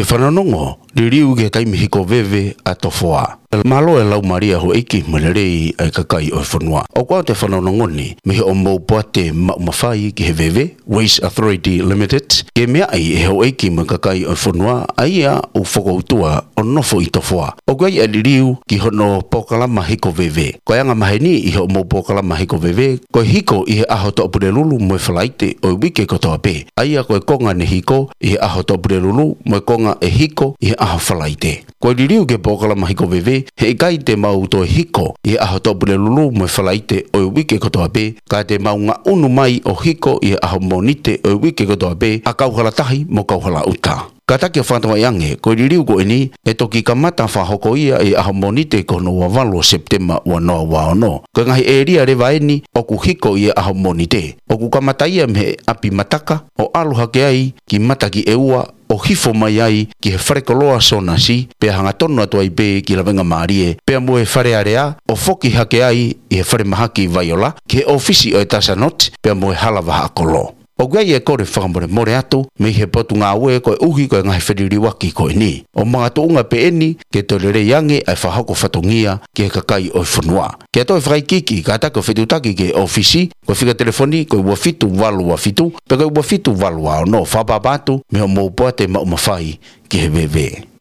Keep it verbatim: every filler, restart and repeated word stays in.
Fanongonongo, liliu ki he taimi hiko veve ʻa Tofoa. Mālō e laumālie ʻa houʻeiki mo e lelei ʻa e kakai ʻo e fonua. ʻOku ʻoatu e fanongonongo ni mei hoʻomou poate maʻu mafai ki he veve, Waste Authority Limited, ke meaʻi ʻe houʻeiki mo e kakai ʻo e fonua ʻa ia ʻoku fokoutua ʻo nofo ʻi Tofoa. ʻOku ʻi ai e liliu ki hono polokalama hiko veve. Ko e anga maheni ʻi hoʻomou polokalama hiko veve, ko e hiko ʻi he ʻaho Toʻapulelulu mo e Falaite ʻo e uike kotoa pē. ʻA ia ko e konga ne hiko ʻi he ʻaho Toʻapulelulu mo e konga ʻe hiko ʻi he ʻaho Falaite. Ko e liliu ki he polokalama hiko veve, heʻikai te mau toe hiko ʻi he ʻaho Toʻapulelulu mo e Falaite ʻo e uike kotoa pē, ka te mau ngaʻunu mai ʻo hiko ʻi he ʻaho Mōnite ʻo e uike kotoa pē ʻa Kauhalatahi mo Kauhalaʻuta. Kātaki ʻo fakatokangaʻi ange, ko e liliu ko eni ʻe toki kamata fakahoko ia ʻi he ʻaho Mōnite ko hono ua valu ʻo Sepitema ua noa ua ono. Ko e ngaahi ʻēlia leva eni ʻoku hiko ʻi he ʻaho Mōnite, ʻoku kamata ia mei he ʻapi Mataka ʻo ʻalu hake ai ki Matakiʻeua ʻo hifo mai ai ki he falekoloa Sōnasi, pea hangatonu atu ai pē ki Lavengamālie, pea mo e Fale Alea ʻo foki hake ai ʻi he falemahaki Vaiola, ki he ʻōfisi ʻo e Tasanoti, pea mo e Hala Vahaʻakolo. ʻOku ʻi ai e kole fakamolemole atu mei he Potungāue koeʻuhi ko e ngaahi feliliuaki ko eni. ʻO makatuʻunga pē eni ke toe lelei ange ʻa e fakahoko fatongia ki he kakai ʻo e fonua. Ke toe fakaikiiki, kātaki ʻo fetuʻutaki ki he ʻōfisi, ko e fika telefoni ko e ua fitu valu ua fitu, pe ko e ua fitu valu ua ono, fakaʻapaʻapa atu mei hoʻomou poate maʻu mafai ki he veve.